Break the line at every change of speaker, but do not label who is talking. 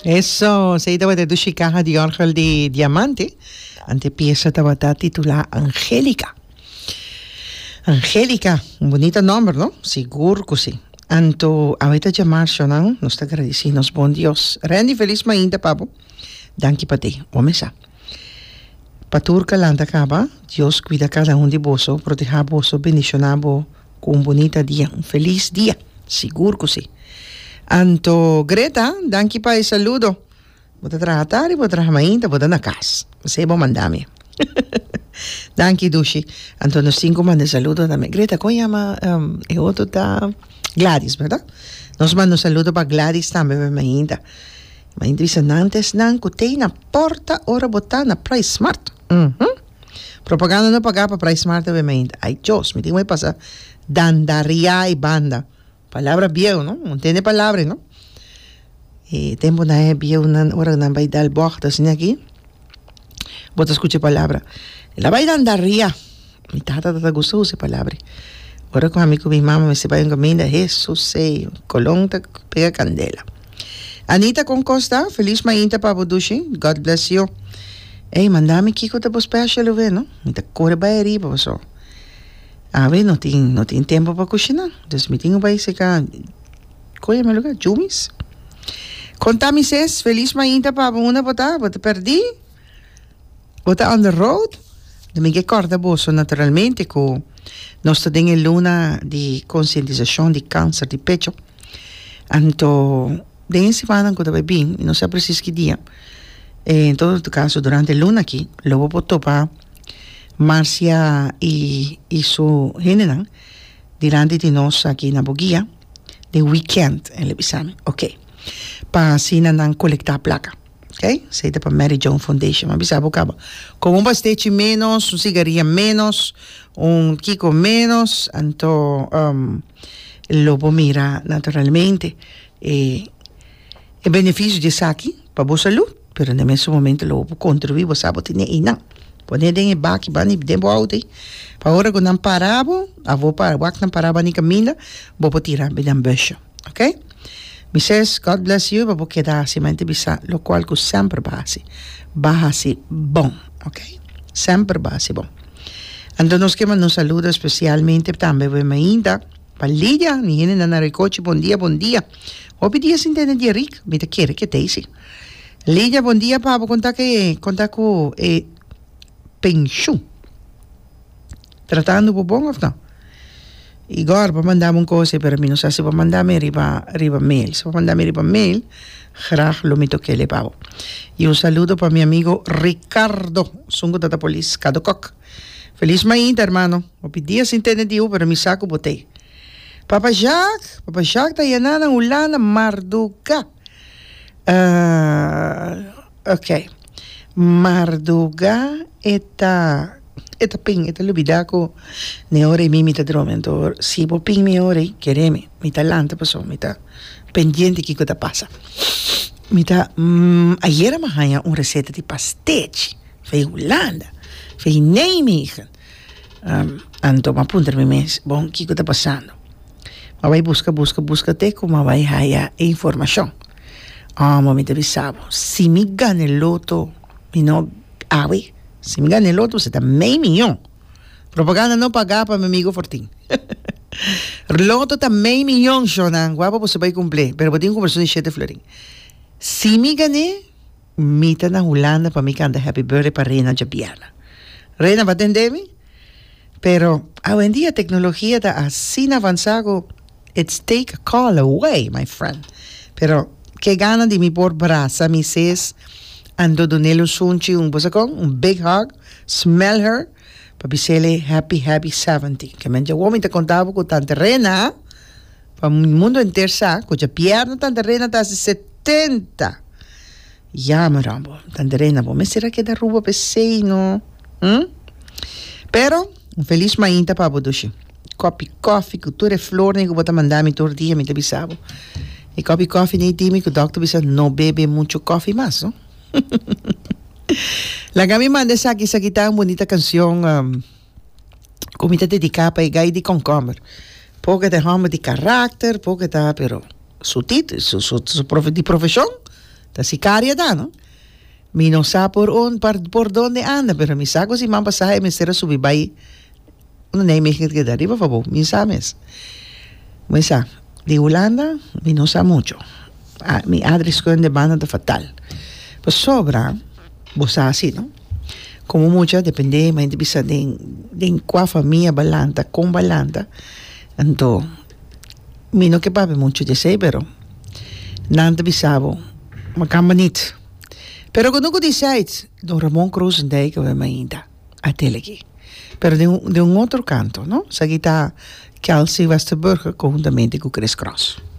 Eso, esei tabata e dushi kaha di òrgel di Diamante. Ante piesa tabata titulá Angélica. Angélica, un bunita nòmber, no? Sigur ku si. Anto, awe ta djamarshon nan, nos ta gradisí nos bon Dios. Randy, felis mainta pa bo. Danki pa te. Bo mesa. Pa tur ka lanta kaba, Dios kuida kada un di boso, protehá boso, bendishoná bo ku un bunita dia, un felis dia. Sigur ku si. Anto, Greta, danki pa e saludo. Bo ta traha tardi, bo ta traha mainta, bo ta na kas. Esei bo manda mi. Danki, Dushi. Anto nos tin ku manda e saludo tambe. Greta, kon yama e otro ta Gladys, bèrdat? Nos manda un saludo pa Gladys tambe pa e mainta. Mainta bisa nan ta esnan ku tei na porta ora bo ta na Price Smart. Uhum. Propaganda no pagá pa Price Smart awe mainta. Ay Dios, mi tin ku bai pasa dandariá e banda. Palabra bieu, no? Bo ntende palabra ei, no? E tempunan e bieunan ora nan bai dal bògt asina aki, bo ta skucha e palabra, El a bai dandariá. Mi tata ta gusta usa e palabra ei. Ora ku ami ku mi mama mester bai un kaminda, Hesus ei, kolon ta pega kandela. Anita kon kos ta? Felis mainta pa bo dushi. God bless you. Ey, manda mi kiko ta bo special awe, no? Mi ta kore bai ariba paso. Awe no tin no tin tempo pa kushina, dus mi tin ku bai seka kon yama e luga? Jumis. Konta mi ses, felis mainta pa bo unda bo ta? Bo ta pèrdí? Bo ta on the road? Mi ke kòrda boso naturalmente ku nos ta den e luna di konsientisashon di kanser di pecho. Anto den e simannan ku ta bai bin, mi no sa presis ki dia, en todo kaso durante e luna aki lo bo por topa Marcia i i su hendenan dilanti di nos aki na Boguia den weekend, el a bisa mi. Oke, pa asina nan kolektá plaka. Ok, esei ta pa Mary Joan Foundation. Mi a bisa bo kaba. Komo un pastechi ménos, un sigaria ménos, un kiko ménos, anto lo bo mira naturalmente e e benefisio di esaki pa bo salud, pero na e mesun momento lo bo por kontribuí, bo sa bo tene einan. Pone den e baki banda den bo outo ei, pa ora ku nan para bo, abo para wak nan para banda di kaminda, bo por tira den busje. Ok mi ses God bless you pa bo keda hasi mente bisa locual cu semper bo hasi ba hasi bon ok semper bo hasi bon anto nos ke manda un saludo especialmente tambe bo mainta pa Lidia mi hende nan na Ricochi bon dia bon dia hopi dia sin tende di Rick mi ta kere ke tei si Lidia bon dia pa bo konta ke konta ku e penshun. Tratando bo bon of no? Igor bo manda mi un cosa pero mi no sa si bo manda mi riba riba mail. Si bo manda mi riba mail graag lo mi tokele pa bo. Y un saludo pa mi amigo Ricardo esun cu ta ta polis Cado Kok. Feliz mainta hermano. Hopi dia sin tende di u pero mi sa cu bo t'ey. Papa Jacques, Papa Jacques ta yena na Hulanda marduga. Ok. Marduga e ta e ta pin e ta lubida ku ne ora ei mi mi ta dromi anto si bo pin mi ora ei kere mi mi ta lanta pasobra mi ta pendiente kiko ta pasa mi ta ayera mi a haña un reseta di pastechi fei Hulanda fei Nijmegen anto mi a puntra mi mes bon kiko ta pasando mi a bai buska buska buska te ku mi a bai haya e informashon. Amo mi ta bisa bo, si mi gana e loto, mi no awe, si mi gana e loto se ta mei miyon. Propaganda no paga pa mi amigo Fortin. Loto ta mei miyon, shownan, guapo boso bai cumple, pero bo tin cu cumpra di shete florin. Si mi gane, mi ta na Hulanda pa mi canta happy birthday pa Rena djabièrnè. Rena bo a tende mi? Pero awendia tecnologia ta asina avansa cu it's take a call away my friend. Pero ke gana di mi por brasa mi sis anto dunel un sunchi un bo sa con un big hug smell her pa bisele happy happy 70. Ke men djawo mi ta conta bo cu tante Rena pa mundo enter sa cu djapierna tante Rena ta hasi 70. Jammer amo. Tante Rena bo mester a keda Aruba p'esey no. Hm? Pero, un felis mainta pa bo dushi. Kopi kofi ku tur e flornan ku bo ta manda mi tur dia mi ta bisa bo. E kopi kofi nei di mi ku dokter bisa no bebe mucho kofi mas no. Laga mi manda esaki, esaki ta un bunita kanshon ku mi ta dediká pa e gai di kònkòmber. Poke ta e hòmber di karakter, poke ta pero su tit, su su su di profeshon. Ta sicaria ta, no? Mi no sa por un, par, por donde anda, pero mi sa cu siman pasa e mester a subi bay unda Nijmegen ta keda riba fabou, mi sa mes. Mi sa, di Hulanda mi no sa mucho. Mi adreskunde banda ta fatal. Pasobra, bo sa asi, no? Como mucha depende, mi ta bisa den, den cua famia bo a lanta, con bo a lanta, anto mi no ke papia mucho di esey, pero nan ta bisa bo, makamba nit. Pero ku no ku decide, don Ramon Krozendijk a wem ainda a tele aki. Pero den un den un otro kanto, no? Esaki ta Kelsey Westerburger konhuntamente ku Chris Cross.